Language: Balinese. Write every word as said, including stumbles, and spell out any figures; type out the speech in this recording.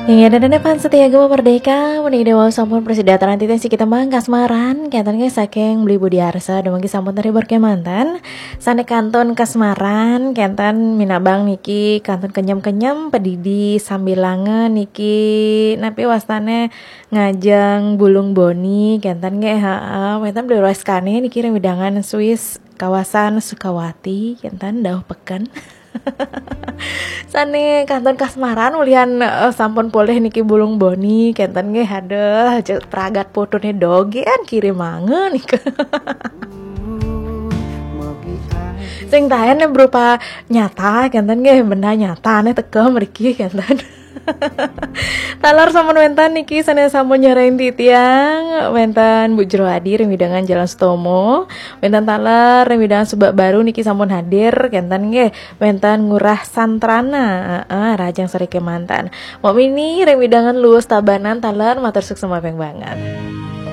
Inggih, ida dané fans setia Gema Merdeka, menika wau sampun prasida titiang siki tembang kasmaran, kénten nggih saking Beli Budi Arsa, dumogi sampun terhibur kémanten. Sané kantun kasmaran, kénten minabang niki kantun kenyem-kenyem, pedidi sambilanga niki, napi wastané ngajeng bulung boni, kénten nggih, ha, wénten Beli Roeskane niki ring wewidangan Swiss, kawasan Sukawati, kénten dauh peken. Sané kantun kasmaran ulihan, eh, sampun polih niki bulung boni, kénten nggih, aduh, aja pragat fotoné dogén kirimanga nika. Sing taén berupa nyata, kénten nggih, benda nyata né teka mriki, kénten. Taler sampun wénten niki sané sampun nyarengin titiang, wénten Bu Jero Adi ring wewidangan Jalan Sutomo, wénten taler ring wewidangan Subak Baru niki sampun hadir, kénten nggih, wénten Ngurah Santrana, heeh, rahajeng soré kémanten. Mbok Mini ring wewidangan Luwus Tabanan taler matur suksma banget.